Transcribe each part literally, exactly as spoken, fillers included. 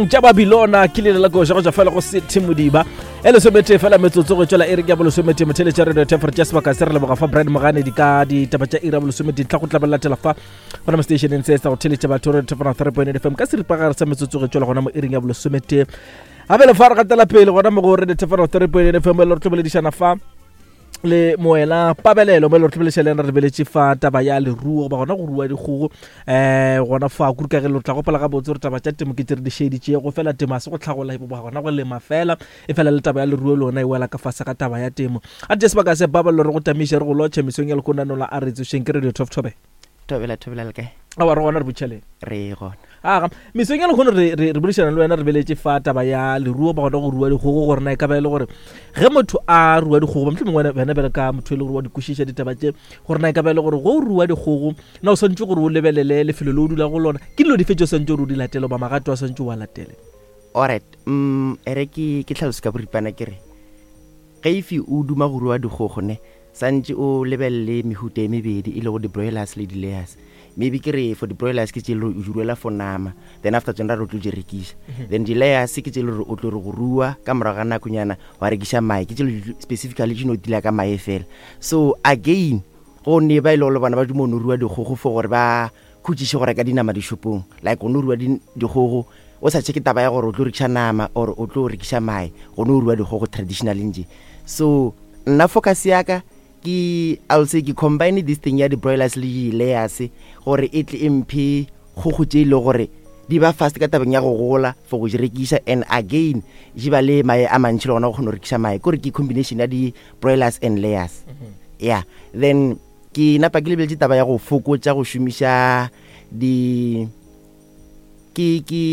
Tša Babilona ke leina la koša go tšwa fela go City Modiba e lesometee fela metsotso go tšwela iri ya bolesomete. Motheletša radio tefer tša sebaka se re leboga fa Brian Moganedi ka ditaba tša iri ya bolesomete tla go tla ba latela fa gona mo stationeng se sa go theletša batho radio tefer three point eight F M ka seripagare sa metsotso go tšwela gona mo iring ya bolesomete. Gape le fa re gatela pele gona mo go radio tefer three point eight F M le re tlo boledišana fa le moela Pabelelo mo le re tlhobolešha le ena re lebeletše fa taba ya leruo goba gona go rua dikgogo um gona fa kudu ka ge le tla gopola gabotse gore taba tša temo ke tse re di šeditšego fela temo a se go tlhagola goba gona go lema fela e fela le taba ya leruo le yona e wela ka fase ga taba ya temo. A tše sebaka se Pabalelo re go tamiše re go lotšhe mesong ya lekonanola a re tsošeng ke radio Top Tobe. Thobela, thobela le kae? Awa re gona re botšheleng. Re gona. Aga mesong ya lehono re re re boledišana le wena re beletše fa taba ya leruo ba gona go rua dikgogo gore na e ka ba e le gore ge motho a rua dikgogo ba mohlomongwe wena bjale ka motho e le gore wa di kwešiša ditaba tše gore na e ka ba e le gore go rua dikgogo na o swantse gore o lebelele lefelo le o dula go lona ke dilo dife tse o swantse gore o di latele goba magato a swantse o a latele. Alright, mm ere ke ke tlhaloso ka boripana ke re ge ife o duma go rua dikgogo ne santse o lebelele mehuta e mebedi e lego di-broilers le di-layers. Maybe ke re for di-broilers ke tše le gore o di ruela for nama, then after tsone ra re o tlo di rekiša. Then di-layers ke tše le gore o tlo re go rua ka morago ga nakonyana wa rekiša mae, ke tše le specifically di no dila ka mae fela. So again go ne ba e le gore bona ba duma no rua dikgogo for gore ba khutšiše go reka dinama dishopong, like go no rua dikgogo o sa checke taba ya gore o tlo rekiša nama or o tlo rekiša mae, go no rua dikgogo traditionally nje. So nna focus ya ka ke I'll say ke combine this thing ya di-broilers le di-layers gore e tle e mphe kgogo tše e le gore di ba fast ka tabeng ya go gola for go di rekiša, and again di ba le mae a mantši le gona go kgona go rekiša mae, kore ke combination ya di-broilers and layers. Yeah, then ke napa ke lebeletše taba ya go fokotša go šomiša di ke ke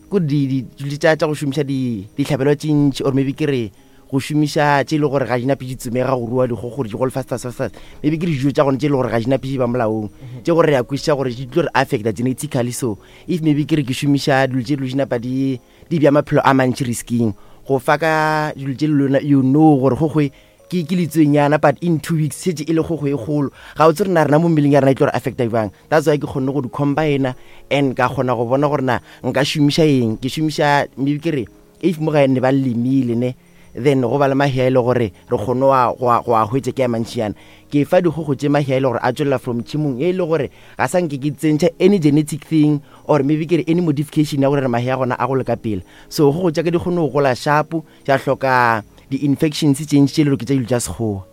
ko di di tša tša go šomiša di dihlabelo tše ntši, or maybe ke re go šomiša tše e le gore ga di nape di tsomega go rua dikgogo gore di gole fast fast fast. Maybe ke dijo tša gone tše e le gore ga di nape di ba molaong tše gore re a kwešiša gore di tlo re affecta genetically. So if maybe ke re ke šomiša dilo tše dilo di napa di di bja maphelo a mantši risking go fa ka dilo tše le lona you know gore gogwe ke ke letswenyana, but in two weeks šetše e le kgogo e kgolo, ga o tse re na rena mo mmeleng ya rena e tlo re affecta jwang. That's why ke kgonne go di combina and ka kgona go bona gore na nka šomiša eng. Ke šomiša maybe ke re if mo gae ne ba lemile ne, then go ba le mahea e le gore re kgone go a go a hwetša ke a mantšinyana, ke fa dikgogo tše mahea e le gore a tswelela from tšhimong e le gore ga sa nke ke tsentšha any genetic thing or maybe ke re any modification ya gore re mahea gona a gole ka pele. So kgogo tša ka di kgone go gola sharp, tša hloka di-infections tše ntši tše le gore ke tša dilo tša sekgowa.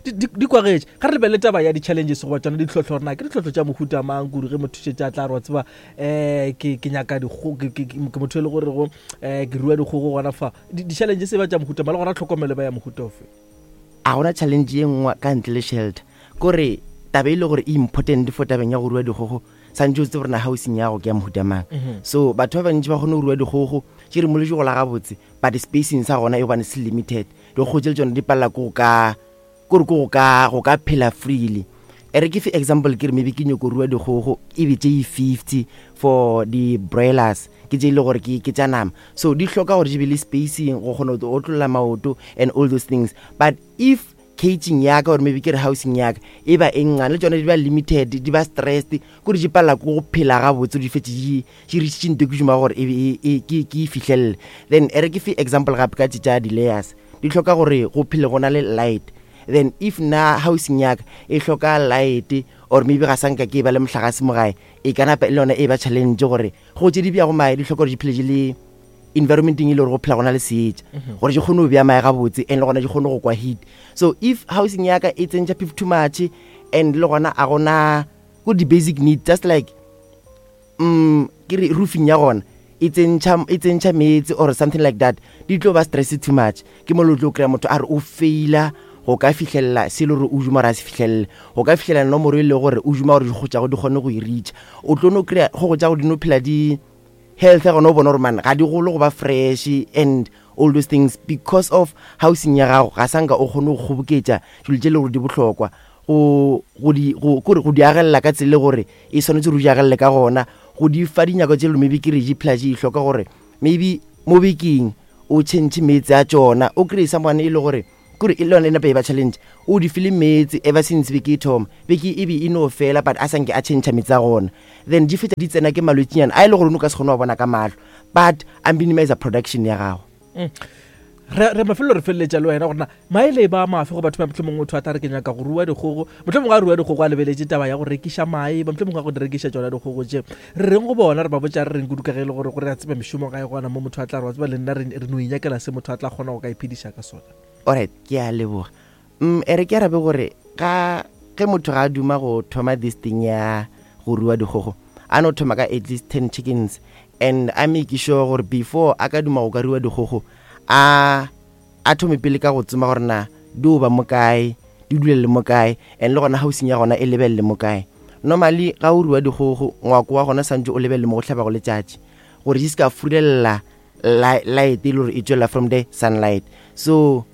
Di kwagetše ga re lebelele taba ya di-challenges goba tsona ditlhohlo gore na ke ditlhohlo tša mohuta mang kudu ge motho šetše a tla re wa tseba um ke ke nyaka dikgogo ke motho e le gorego um ke rua dikgogo gona fa di-challenges e ba tša mohuta mang le gona tlhokomelo ba ya mohuta ofe? A gona challenge ye nngwe ka ntle le shelter, kore taba e le gore e important for tabeng ya go rua dikgogo santse o tsebe gore na housing ya go ke ya mohuta mang. So batho ba bantši ba kgone go rua dikgogo tše re moletše gola gabotse, but spacing sa gona e gobane se limited, dikgogo tše le tsone di palela ko go ka kore ko go ka go ka phela freely. E re ke fe example ke re maybe ke nyako rua dikgogo e be tše fifty for di-broilers ke tše e le gore ke ke tša nama, so di hloka gore di be le spacing go kgona go otlolla maoto and all those things. But if caging ya ka or maybe ke re housing ya ka e ba e nngane le tsone di ba limited, di ba stressed kore di palela ko go phela gabotse, di fetse di di reachitše nto ke šoma gore e e ke ke e fihlelele. Then e re ke fe example gape ka tše tša di-layers, di hloka gore go phele go na le light. Then if na housing ya ka e hloka light or maybe ga sa nka ke ba le mohlagase mo gae, e ka napa e le yona e ba challenge gore go tše di bjago mae di hloka gore di phele di le environmenteng e le gore go phela go na le seetša gore di kgone go bja mae gabotse and le gona di kgone go kwa heat. So if housing ya ka e tsentšha phefo too much and le gona a gona ko di-basic need just like mm ke re roofing ya gona e tsentšha e tsentšha meetse or something like that, di tlo ba stress too much. Ke mo le tlo kry-a motho a re o faila go ka fihlelela se le gore o duma gore a se fihlelele, go ka fihlelela nomoro e le gore o duma gore dikgogo tša go di kgone go e reacha. O tlo no kry-a kgogo tša go di no phela di health ya gona o bona gore man ga di gole go ba fresh and all those things because of housing ya gago ga sa nka o kgone go kgoboketša dilo tše le gore di bohlokwa go go di go kore go di agelela ka tsela gore e swanetše gore o di agelele ka gona, go di fa dinyako tše le maybe ke re di phela di hloka gore maybe mo bekeng o change meetse a tšona. O kry-e someone e le gore Kore e le yone e nape e ba challenge. O di file meetse ever since be ke e thoma, be ke e be e no fela, but a sanke a change metsi a gona. Then di fetsa di tsena ke malwetšinyana a e le gore o no ka se kgone wa bona ka mahlo, but a minimize production ya gago. Re re mafelo re feleletša le wena gorena maele ba mafe go batho ba mohlomongwe motho a tla re ke nyaka go rua dikgogo, mohlomongwe a rua dikgogo a lebeletše taba ya go rekiša mae, ba mohlomongwe a go di rekiša tšona dikgogo tše, re reng go bona, re ba botša re reng kudu ka ge e le gore gore re a tseba mešomo ga e gona mo motho a tla re wa tseba le nna re re no inyakela se motho a tla kgona go ka iphediša ka sona. Alright, ke a leboga. mm e re ke arabe gore ga ge motho ga a duma go thoma this thing ya go rua dikgogo, a no thoma ka at least ten chickens and a make sure gore before a ka duma go ka rua dikgogo, a a thome pele ka go tsoma gore na di o ba mo kae, di dulele mo kae, and le gona housing ya gona e lebelele mo kae. Normally ga o rua dikgogo, ngwako wa gona santse o lebelele mo go hlabago letšatši gore di se ka furelela light e le gore e tswela from the sunlight. So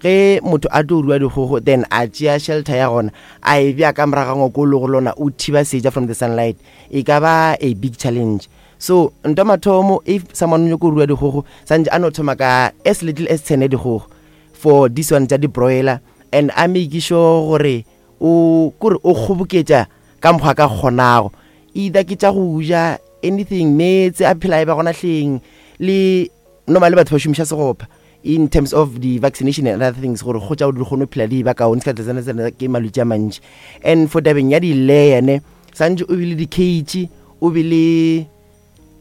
ge motho a tlo rua dikgogo, then a tšea shelter ya gona a e bea ka morago ga ngwako o le go lona o thiba seja from the sunlight, e ka ba a big challenge. So nto mathomo, if someone o nyako rua dikgogo, santse a no thoma ka as little as ten ya dikgogo for this one tša di-broiler, and a make sure gore o kore o kgoboketša ka mokgwa ka kgonago, either ke tša go ja anything, meetse a phela e ba gona hleng. Le normally batho ba šomiša segopa in terms of the vaccination and other things gore go tša di kgone go phela di ba kaone, se ka tsena tsena ke malwetse a mantši. And for tabeng ya di-layer ne, santse o be le di-cage, o be le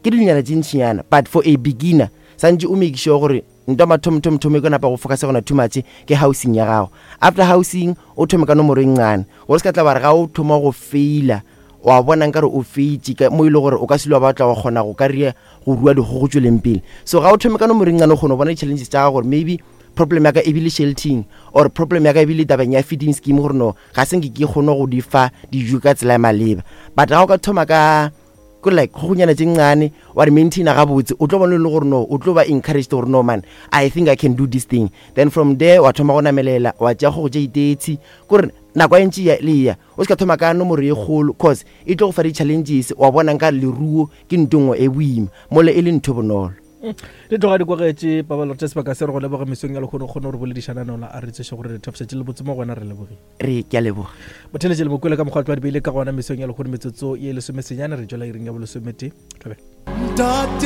ke dilonyana tše ntšinyana, but for a beginner santse o make sure gore nto mathomthomthomo e ko napa go focus gona too much ke housing ya gago. After housing o thome ka nomoro e ncane, gore se ka tla ba re ga o thoma go faila wa bona nkare o feitše ka mo e le gore o ka se le wa batla wa kgona go ka ria go rua dikgogo tsweleng pele. So ga o thome ka nomoro e ncane, o kgone go bona di-challenges tša gago gore maybe problem ya ka e bile sheltering or problem ya ka e bile tabeng ya feeding scheme, gore no ga se nke ke kgone go di fa dijo ka tsela ya maleba. But ga o ka thoma ka kore like kgogonyana tše ncane wa di maintaina gabotse, o tlo bona e le gore no o tlo ba encouraged gore no man, I think I can do this thing. Then from there wa thoma go namelela, wa tšea kgogo tše itetsi, kore nako e ntši ya le ya o se ka thoma ka nomoro e kgolo, cause e tlo go fa di-challenges, wa bona nka leruo ke ntho nngwe e boima mole e le ntho bonolo. Di tloga di kwagetše pabalelo tša sebaka se re go leboga mesong ya lekgono kgone gore boledišana nola a re tseše gore re thapšatše le botse mo gona, re lebogile. Re ke a leboga. Botheletše le mokwele ka mokgwa tlo di beile ka gona mesong ya lekgono metsotso ye lesomesenyane re tšwela iring ya bolesometee. Thobela.